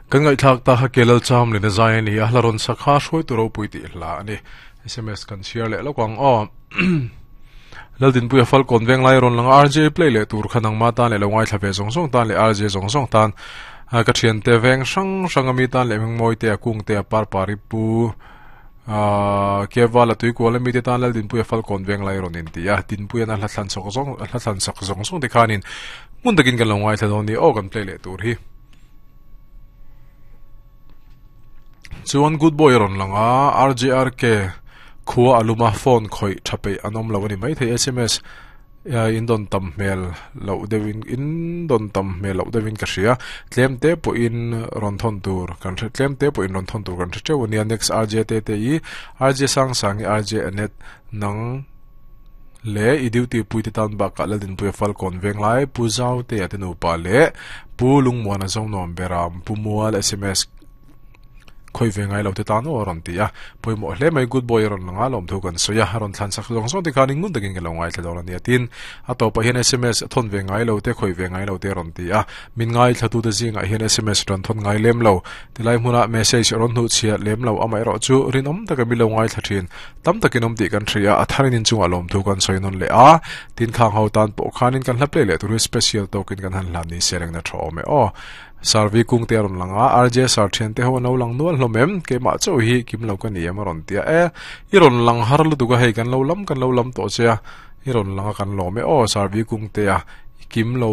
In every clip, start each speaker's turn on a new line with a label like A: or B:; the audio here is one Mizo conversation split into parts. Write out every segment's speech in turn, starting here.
A: Kan ngaihthlak ta kha Kelal Cham leh Zai a ni a, hla rawn sak kha hruaitu ropui tih hla a ni. SMS kan chhiar leh lawk ang aw. Laldinpuia Falkawn veng lai rawn lang a, RJ play leh tur kha nangma tan leh lo ngaithla ve zawng zawng tan leh RJ zawng zawng tan ka thiante veng hrang hrang ami tan leh Hmingmawi te a kung te a parpari pu Keval a tuikual ami te tan Laldinpuia Falkawn veng lai rawn inti a, Dinpuian a hla thlan chawk zawng hla thlan sak zawng zawng te khanin hmun takin kan lo ngaithla dawn ni aw kan play leh tur hi. Chuan good boy a rawn lang a, RJRK khua a lum a, phone khawih tha peih an awm lo a ni maithei sms in dawn tam hmel loh deuhin in dawn tam hmel loh deuhin ka hria tlem te pawhin rawn thawn tur kan hre tlem te pawhin rawn thawn tur kan hre teuh a nia next RJ te te i RJ Sangsangi RJ Anet nang leh i duty pui te tan bakah Laldinpuia Falkawn Venglai Pu Zautea te nupa leh Pu Lungmuana Zonuam Beram Pu Mual sms Khawi ve ngai lo te tan aw a rawn ti a, pawimawh hle mai good boy a rawn lang a, lawmthu kan sawi a, a rawn thlan sak zawng zawng te khan ngun takin ka lo ngaithla dawn a nia tin a tawpah hian sms a thawn ve ngai lo te khawi ve ngai lo te a rawn ti a, min ngaithla tu te zingah hian sms rawn thawn ngai lem lo tilai hmunah message a rawn hnuh chhiat lem lo amaherawh chu rinawm taka min lo ngaithla thin tam takin awm tih kan hria a, a tharin inchungah lawmthu kan sawi nawn leh a, tin khang ho tan pawh khanin kan hla play leh tur hi special tawkin kan han hlan ni se rengna tha awm e aw. Sarvi kung te a rawn lang a, RJ sar thian te ho an lo lang nual hlawm em? Keimah chauh hi kim lo ka ni em a rawn ti a, e i rawn lang har lutuk a hei kan lo lam kan lo lam tawh che a, i rawn lang a kan lawm e aw Sarvi kung te a i kim lo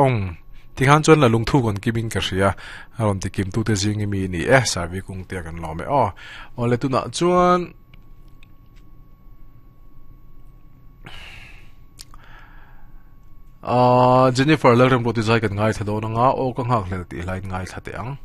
A: awng tikhan chuan la lungthu kan kim in ka hria a rawn ti kim tute zing i mi ni e Sarvi kung te a kan lawm e aw awle tunah chuan Jennifer Lalremruati zai kan ngaithla dawn anga aw ka nghak hlel tih hlain ngaithla teh ang.